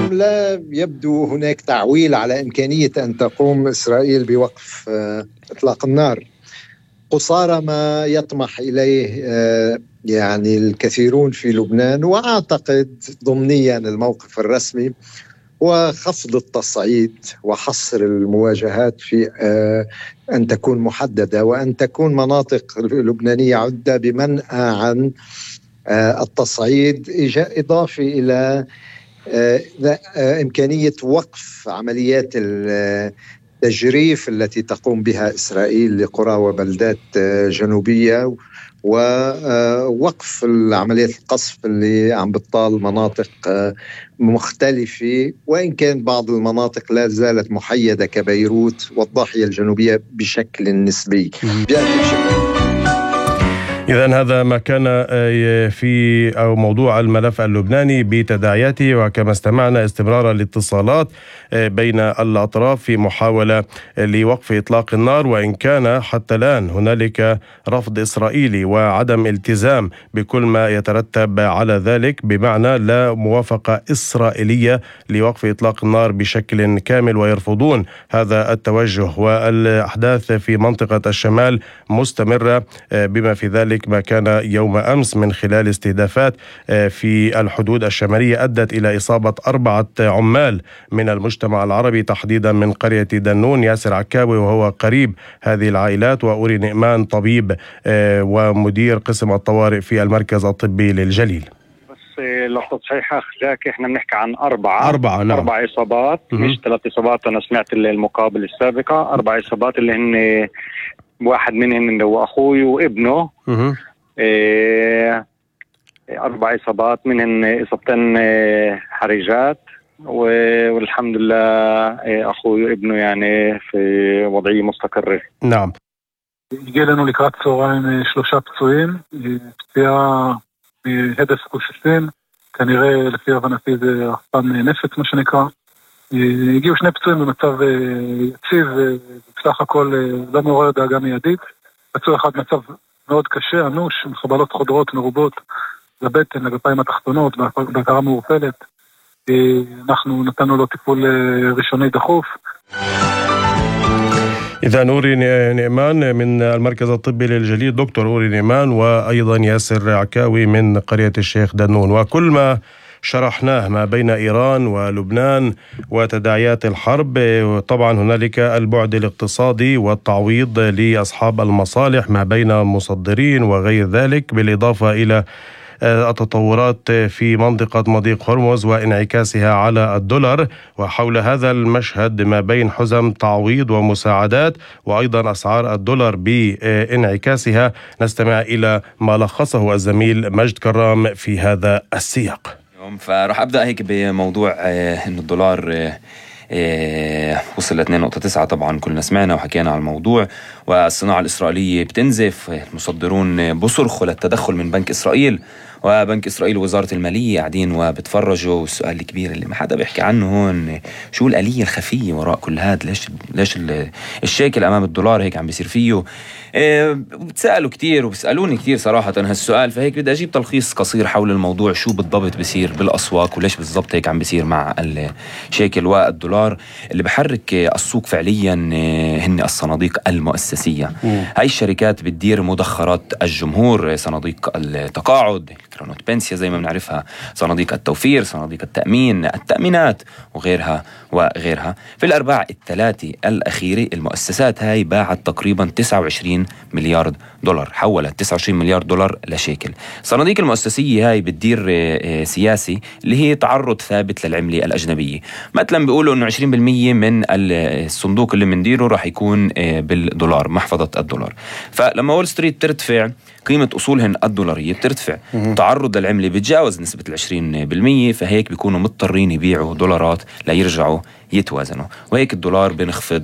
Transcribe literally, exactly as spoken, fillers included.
اليوم لا يبدو هناك تعويل على إمكانية أن تقوم إسرائيل بوقف إطلاق النار قصارى ما يطمح إليه يعني الكثيرون في لبنان، وأعتقد ضمنيا الموقف الرسمي وخفض التصعيد وحصر المواجهات في أن تكون محددة، وأن تكون مناطق لبنانية عدة بمنأى عن التصعيد، إضافي إلى إمكانية وقف عمليات التجريف التي تقوم بها إسرائيل لقرى وبلدات جنوبية، ووقف العمليات القصف اللي عم بتطال مناطق مختلفة، وإن كان بعض المناطق لا زالت محيدة كبيروت والضاحية الجنوبية بشكل نسبي. إذن هذا ما كان في أو موضوع الملف اللبناني بتداعياته، وكما استمعنا استمرار الاتصالات بين الأطراف في محاولة لوقف إطلاق النار، وإن كان حتى الآن هنالك رفض إسرائيلي وعدم التزام بكل ما يترتب على ذلك، بمعنى لا موافقة إسرائيلية لوقف إطلاق النار بشكل كامل، ويرفضون هذا التوجه. والأحداث في منطقة الشمال مستمرة، بما في ذلك ما كان يوم أمس من خلال استهدافات في الحدود الشمالية أدت إلى إصابة أربعة عمال من المجتمع العربي، تحديدا من قرية دنون. ياسر عكاوي وهو قريب هذه العائلات، وأوري نعمان طبيب ومدير قسم الطوارئ في المركز الطبي للجليل. بس للتصحيح أخذاك إحنا بنحكي عن أربعة أربعة نعم. أربع إصابات مش ثلاث إصابات. أنا سمعت المقابل السابقة أربع إصابات اللي هن واحد منهم اللي هو أخوي وابنه. إيه أربع إصابات منهن إصابتين حرجات، والحمد لله إيه أخوي وابنه يعني في وضعية مستقرة. نعم. הגיע לנו לקראת צהריים שלושה פצועים, פציעה מהדף גופיסין, כנראה לפי הבנתי זה רחפן נפץ מה שנקרא. הגיעו שני פצועים במצב יציב, בסך הכל לא מעורר דאגה מיידית. פצוע אחד מצב מאוד קשה, אנוש, עם חבלות חודרות מרובות לבטן, לגפיים התחתונות, בהכרה מעורפלת. אנחנו נתנו לו טיפול ראשוני דחוף. إذا أوري نعمان من المركز الطبي للجليل، دكتور أوري نعمان، وأيضا ياسر عكاوي من قرية الشيخ دنون. وكل ما شرحناه ما بين إيران ولبنان وتداعيات الحرب، طبعا هنالك البعد الاقتصادي والتعويض لأصحاب المصالح ما بين المصدرين وغير ذلك، بالإضافة إلى التطورات في منطقة مضيق هرمز وانعكاسها على الدولار. وحول هذا المشهد ما بين حزم تعويض ومساعدات وأيضا أسعار الدولار بانعكاسها، نستمع إلى ما لخصه الزميل مجد كرام في هذا السياق. فراح أبدأ هيك بموضوع إنه الدولار وصل ل اثنين نقطة تسعة. طبعا كلنا سمعنا وحكينا على الموضوع، والصناعة الإسرائيلية بتنزف، المصدرون بصرخوا للتدخل من بنك إسرائيل، وبنك إسرائيل ووزارة المالية قاعدين وبتفرجوا. والسؤال الكبير اللي ما حدا بيحكي عنه هون، شو الآلية الخفية وراء كل هذا؟ ليش ليش الشيكل أمام الدولار هيك عم بيصير فيه؟ إيه بتسألوا كتير وبيسألوني كتير صراحة هالسؤال، فهيك بدي أجيب تلخيص قصير حول الموضوع، شو بالضبط بيصير بالأسواق وليش بالضبط هيك عم بيصير مع الشيكل والدولار. اللي بحرك السوق فعليا هن الصناديق المؤسسية. هاي الشركات بتدير مدخرات الجمهور، صناديق التقاعد، كرونوت بنسيا زي ما بنعرفها، صناديق التوفير، صناديق التأمين، التأمينات وغيرها وغيرها. في الأرباع الثلاثة الأخيرة المؤسسات هاي باعت تقريبا تسعة وعشرين مليار دولار، حولت تسعة وعشرين مليار دولار لشيكل. صناديق المؤسسية هاي بتدير سياسي اللي هي تعرض ثابت للعملة الأجنبية. مثلا بيقولوا إنه عشرين بالمية من الصندوق اللي منديره راح يكون بالدولار، محفظة الدولار. فلما وول ستريت ترتفع قيمة أصولهن الدولارية بترتفع، تعرض للعملة بتجاوز نسبة العشرين بالمية، فهيك بيكونوا مضطرين يبيعوا دولارات ليرجعوا يتوازنوا، وهيك الدولار بنخفض